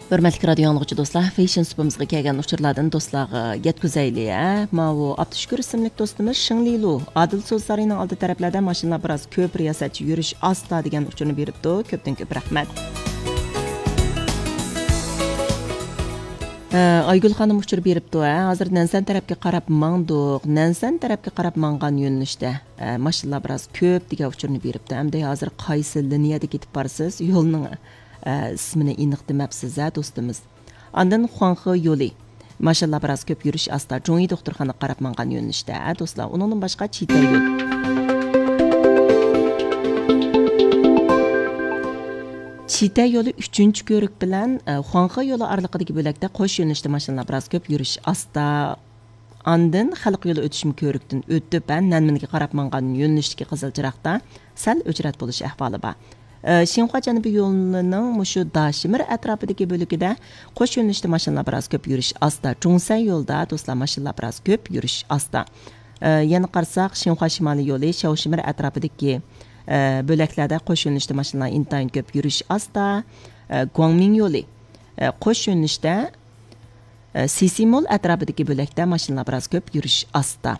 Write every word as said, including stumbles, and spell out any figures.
ھۆرمەتلىك رادىيو ئاڭلىغۇچى دوستلار، فېشن سۇپىمىزغا كەلگەن ئۇچۇرلاردىن دوستلارغا يەتكۈزەيلى، ھە؟ ماۋۇ ئابدۇشۈكۈر ئىسىملىك دوستىمىز شېڭلىلۇ ئادىل سودا سارىيىنىڭ ئالدى تەرەپلەردە ماشىنىلار بىراز كۆپ، رىياسەتچى يۈرۈش ئاستا دېگەن ئۇچۇرنى بېرىپتۇ. كۆپتىن كۆپ رەھمەت. ھە، ئايگۈل خانىم ئۇچۇر بېرىپتۇ، ھە؟ ھازىر نەنسەن تەرەپكە قاراپ ماڭدۇق. نەنسەن تەرەپكە قاراپ ماڭغان يۆنىلىشتە، ھە، ماشىنىلار بىراز كۆپ دېگەن ئۇچۇرنى بېرىپتۇ. ئەمدى ھازىر قايسى لىنىيەدە كېتىپ بارسىز؟ يولنىڭ، ھە، ئىسمىنى ئېنىق دېمەپسىز، ھە، دوستىمىز. ئاندىن خۇاڭخې يولى. ماشىنىلار بىراز كۆپ، يۈرۈش ئاستا. جۇڭيى دوختۇرخانىغا قاراپ ماڭغان يۆنىلىشتە، ھە، دوستلار. ئۇنىڭدىن باشقا چىتەي يول. چىتەي يولى ئۈچىنچى كۆۋرۈك بىلەن، ئە، خۇاڭخې يولى ئارىلىقىدىكى بۆلەكتە قوش يۆنىلىشتە ماشىنىلار بىراز كۆپ، يۈرۈش ئاستا. ئاندىن خەلق يولى ئۆتۈشمە كۆۋرۈكتىن ئۆتۈپ، ھە، نەنمىنگە قاراپ ماڭغان يۆنىلىشتىكى قىزىل چىراغدا سەل ئۆچرەت بولۇش ئەھۋالى بار. ئە، شىنخۇا جەنۇبىي يولىنىڭ مۇشۇ داشىمىر ئەتراپىدىكى بۆلىكىدە قوش يۆنىلىشتە ماشىنىلار بىراز كۆپ، يۈرۈش ئاستا. جۇڭسەن يولىدا، دوستلار، ماشىنىلار بىراز كۆپ، يۈرۈش ئاستا. ئە، يەنە قارىساق، شىنخۇا شىمالىي يولى شياۋشىمىر ئەتراپىدىكى، ئە، بۆلەكلەردە قوش يۆنىلىشتە ماشىنىلار ئىنتايىن كۆپ، يۈرۈش ئاستا. ئە، گۇاڭمىڭ يولى، ئە، قوش يۆنىلىشتە، ئە، سىسىمول ئەتراپىدىكى بۆلەكتە ماشىنىلار بىراز كۆپ، يۈرۈش ئاستا.